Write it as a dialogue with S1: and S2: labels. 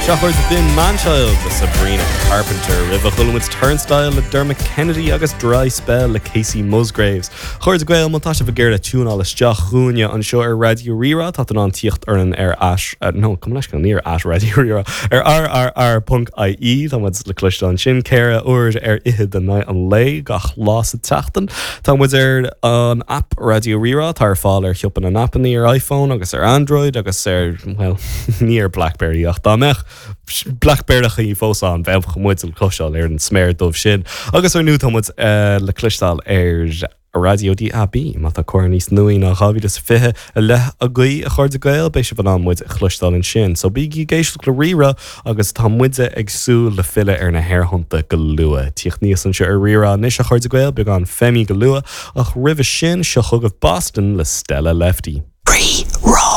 S1: Sea, a chairde, b'in Manchild le Sabrina Carpenter. Roimhe chuala muid Turnstile le Dermot Kennedy agus Dry Spell le Kacey Musgraves. A chairde Gael, má tá sibh ag iarraidh tiúnáil isteach chugainne anseo ar Raidió Rí-Rá, tá tú in ann tíocht orainn ar at, nó gabh mo leithscéal, ní ar at Raidió Rí-Rá, ar rrr.ie, tá muid le cloisteáil ansin 14 uair ar in aghaidh an lae gach lá sa tseachtain. Tá muid ar an aip Raidió Rí-Rá, atá ar fáil ar shiopa na n-aipeanna ar iPhone agus ar Android agus ar, bhuel, ní ar Blackberry ach dá mbeadh Blackberrychaí fós ann, bheadh muid le cloisteáil ar an sméar dubh sin. Agus ar ndóigh tá muid le cloisteáil ar Raidió DAB. Má tá comhartha níos nuaí ná 2020 i leith agaibh, a chairde Gael, beidh sibh in ann muid a chloisteáil ansin. So bígí ag éisteacht le Rí-Rá agus tá muide ag súil le filleadh ar na haerthonnta go luath. Tíocht aníos anseo ar Rí-Rá anois, a chairde Gael, beagán Femi go luath, ach roimhe sin, seo chugaibh Boston le Stella Lefty.
S2: Rí-Rá.